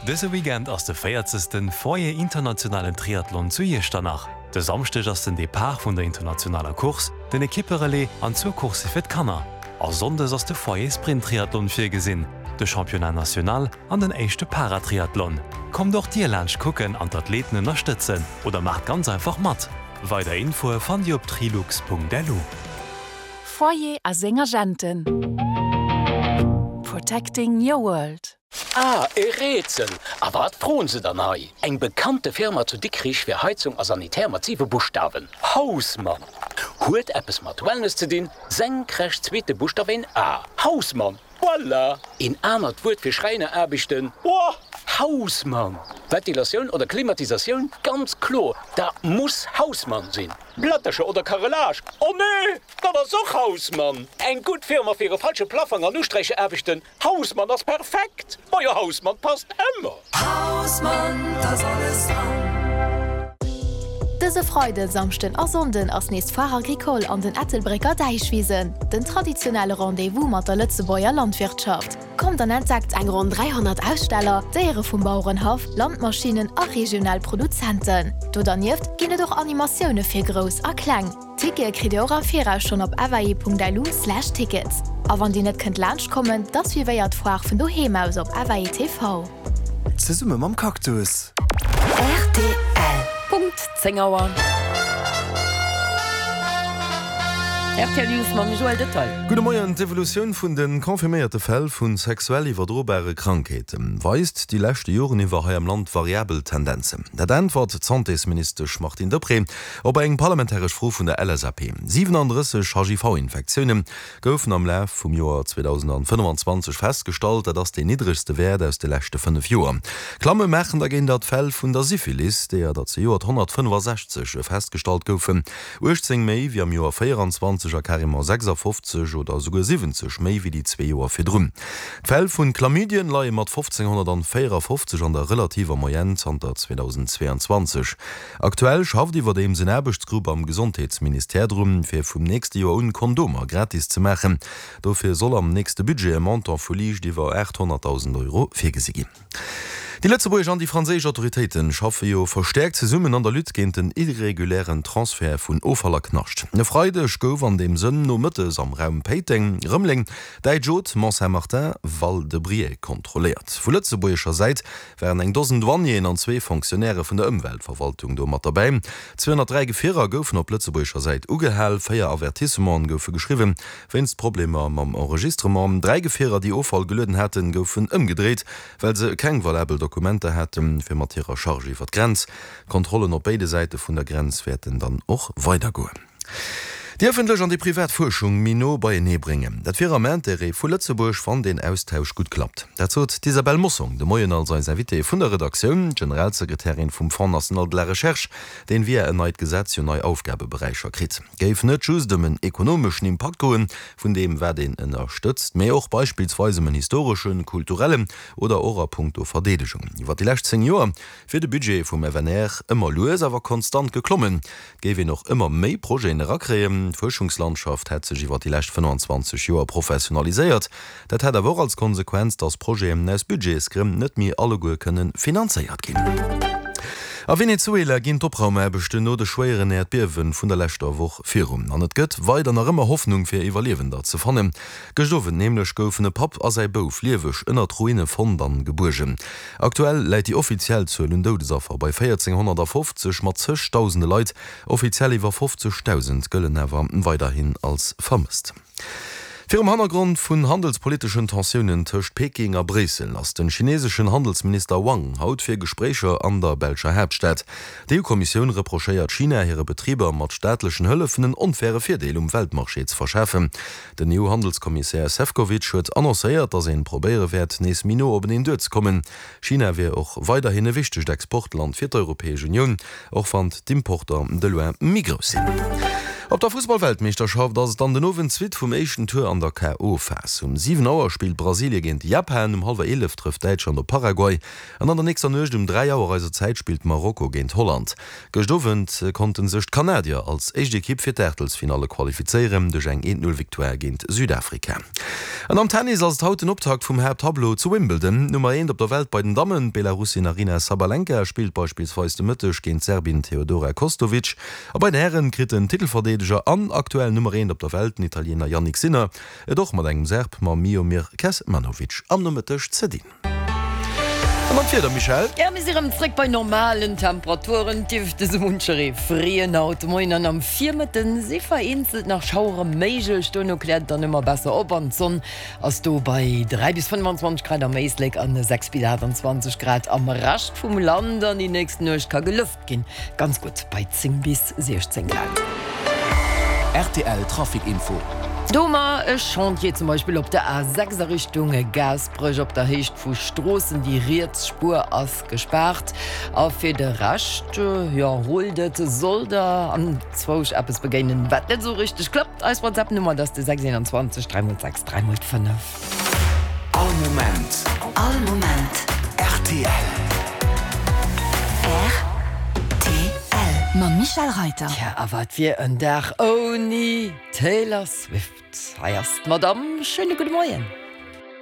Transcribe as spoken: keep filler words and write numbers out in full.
Dëse Weekend ass de véierzegsten Foyer Internationalen Triathlon zu Iechternach. De Samschdeg ass den Depart vun der internationaler Course, den Ekipperelais an zwou Coursse fir d'Kanner. A Sonndes ass de Foyer Sprint Triathlon virgesinn, de Championnat National an den éischte Paratriathlon. Kommt och dir laanscht kucken an d'Athleten ënnerstëtzen oder maacht ganz einfach mat. Weider Infoe fannt dir op trilux.lu. Foyer a seng Agenten. Protecting your world. Ah, e Rätsel! A wat froen se dann hei? Eng bekannte Firma zu Dikrich fir Heizung a Sanitär mat siwe Buschtawen. Hausmann! Huet eppes mat Wellness ze dinn, senkrecht zweete Buschtaf een A. Hausmann! Voilà! Een anert Wuert fir Schräineraarbechten? Boah! Hausmann! Ventilatioun oder Klimatisatioun? Ganz kloer, dat muss Hausmann sinn! Plättercher oder Carrelage? Oh nee! Dat ass och Hausmann! Eng gutt Firma fir e falsche Plaffong an Usträichaarbechten? Hausmann ass perfekt! Majo, Hausmann passt ëmmer! Hausmann, da ass alles dran! Dëse Freiden, Samschden a Sonnden ass nees d'Foire Agricole an den Ettelbrécker Däichwisen, den traditionelle Rendez-vous mat der Lëtzebuerger Landwirtschaft. Kommt an entdeckt eng ronn dräihonnert Aussteller, Déiere vum Bauerenhaff, Landmaschinnen a regional Produzenten. Do dernieft ginn et och Animatioune fir Grouss a Kleng. Tickete kritt Dir och am Viraus schonn op fai.lu slash tickets. A wann Dir net kënnt laanscht kommen, da suivéiert d'Foire vun doheem aus op F A I T V. Zesumme mam Cactus. R T L. Punkt zéng Auer. R T L News mam Joël Detail. Gudde Moien, D'Evolutioun vun de confirméierte Fäll vu sexuell iwwerdrobare Krankheete weist déi leschte Joren iwwer hei am Land variabel Tendenzen. Dat äntwert d'Santésministesch Martine Deprez op eng parlamentaresch Fro vun der L S A P. siwenaandrësseg H I V-Infektioune goufen am Laf vum Joer zweedausendfënnefanzwanzeg festgestallt, dat ass deen niddregste Wäert aus de leschte fënnef Joer. Klamme maachen dergéint d'Fäll vun der Syphilis, deeër der zejoert honnertfënnefasechzeg festgestallt goufen, uechtzéng méi wéi am Joer véieranzwanzeg a carrément sechsafofzeg oder esouguer siwwenzeg méi wéi déi zwee Joer virdrun. D'Fäll vun Chlamydien leie mat fofzénghonnertvéierafofzeg an der relativer Moyenne zanter zweedausendzweeanzwanzeg. Aktuell schafft iwwerdeems en Aarbechtsgrupp am Gesondheetsministère drun, fir vum nächste Joer un Kondomer gratis ze maachen. Dofir soll am nächste Budget e Montant vu liicht iwwer aathonnertdausend Euro virgesi ginn. Déi lëtzebuergesch an déi franséisch Autoritéite schaffe jo verstäerkt zesummen an der Lutte géint den irregulären Transfert vun Offall a Knascht. E Freideg gouf an deem Sënn nomëttes am Raum Péiteng, Rëmeleng, Däitsch-Haute, Mont-Saint-Martin, Val-de-Briey kontrolléiert. Vu lëtzebuergescher Säit waren eng Dosen Douanieren an zwee Fonctionnairë vun der Ëmweltverwaltung do mat derbäi. zweehonnertdräi Gefierer goufen op lëtzebuergescher Säit ugehal, véier Avertissementen goufe geschriwwen wéinst Problemer mam Enregistrement. Dräi Gefierer, déi Offall gelueden haten, goufen ëmgedréit, well se keng valabel Dokumenter haten, fir mat hirer Charge iwwer d'Grenz. Kontrollen op béide Säite vun der Grenz wäerten dann och weidergoen. Déi ëffentlech an déi privat Fuerschung méi no beienee bréngen, dat wier am Interêt vu Lëtzebuerg, wann deen Austausch gutt klappt. Dat sot d'Isabelle Mossong de Moien als eis Invitée vun der Redaktioun, d'Generalsekretärin vum Fonds national de la recherche, deen via en neit Gesetz jo nei Aufgabeberäicher kritt. Géif net just ëm en ekonomeschen Impakt goen, vun deem wat een ënnerstëtzt, mee och beispillsweis ëm en historeschen, kulturellen oder och a punkto Verdeedegung. Iwwer déi lescht zéng Joer wier de Budget vum F N R ëmmer lues awer konstant geklommen. Et géif een och ëmmer méi Projeten erakréien. D'Fuerschungslandschaft hätt sech iwwer déi lescht fënnefanzwanzeg Joer professionaliséiert. Dat hätt awer och als Konsequenz, datt Projeten aus Budgetsgrënn net méi alleguer kënne finanzéiert ginn. A Venezuela ginn d'Opraumaarbechten no de schwéieren Äerdbiewe vun der leschter Woch virun. An et gëtt weider nach ëmmer Hoffnung fir Iwwerliewender ze fannen. Gëscht Owend nämlech goufen e Papp a säi Bouf lieweg ënnert Ruine fonnt an gebuergen. Aktuell läit déi offiziell Zuel un Doudesaffer bei véierzénghonnertfofzeg, mat zegdausende Leit, offiziell iwwer fofzegdausend, gëllen awer weiderhin als vermësst. Virum Hannergrond vun handelspoliteschen Tensiounen tëscht Peking a Bréissel ass de chineeseschen Handelsminister Wang haut fir Gespréicher an der belscher Haaptstad. D'E U-Kommissioun reprochéiert China, hire Betriber mat staatlechen Hëllefen en onfaire Virdeel um Weltmarché ze verschafen. Den E U-Handelskommissär Sefcovic huet annoncéiert, datt ee probéiere wäert, nees méi no openeen duerzekommen. China wier och weiderhin e wichtegt Exportland fir d'Europäesch Unioun, och wann d'Importer de loin méi grouss sinn. Op der Fussballweltmeeschterschaft ass et dann den Owend d'Suite vum éischten Tour an der K O. Phas. Um siwen Auer spillt Brasilie géint Japan, um hallwer eelef trëfft Däitschland op Paraguay an an der nächster Nuecht um dräi Auer eiser Zäit spillt Marokko géint Holland. Gëscht Owend konnte sech d'Kanadier als éischt Ekipp fir d'Aachtelsfinalle qualifizéieren duerch eng eent Null Victoire géint Südafrika. An am Tennis ass et haut den Optakt vum Haapttableau zu Wimbledon. D'Nummer eent op der Welt bei den Dammen, d'Belarussin Aryna Sabalenka, spillt beispillsweis de Mëtteg géint d'Serbin Teodora Kostovic. A bei den Hären kritt den Titelverdeedeger an aktuell Nummer eent op der Welt, den Italiener Jannik Sinner, et och mat engem Serb, mam Miomir Kecmanovic, am Nomëtteg ze dinn. An dann d'Wieder, Michèle? Jo, mir si rëm zréck bei normalen Temperaturen. Et dierft esou muncheree freeën haut de Moien an am Virmëtten si vereenzelt nach Schauere méiglech. Dono kläert et dann ëmmer besser op an d'Sonn ass do bei dräi bis fënnwanzwanzeg Grad am Éislek an sechs bis aachtanzwanzeg Grad am Rescht vum Land. An déi nächst Nuecht ka gelëft ginn, ganz gutt bei zéng bis siechzéng Grad. Rtl Trafic Info. Do hu mer e Chantier zum Beispill op der A sechs a Richtung Gaasperech op der Héicht vu Stroossen. Déi riets Spuer ass gespaart. A fir de Rescht, jo, rullt et. Sollt der anzwousch eppes begéinen, wat net esou richteg klappt, eis WhatsApp-Nummer, dat ass de sechs eenanzwanzeg dräi mol sechs dräi mol fënnef. All Moment. All Moment. Rtl. Rtl. Mam Michèle Reyter. Tja, a wat wier en Dag ouni Taylor Swift? Hei ass d'Madame. Schéine gudde Moien.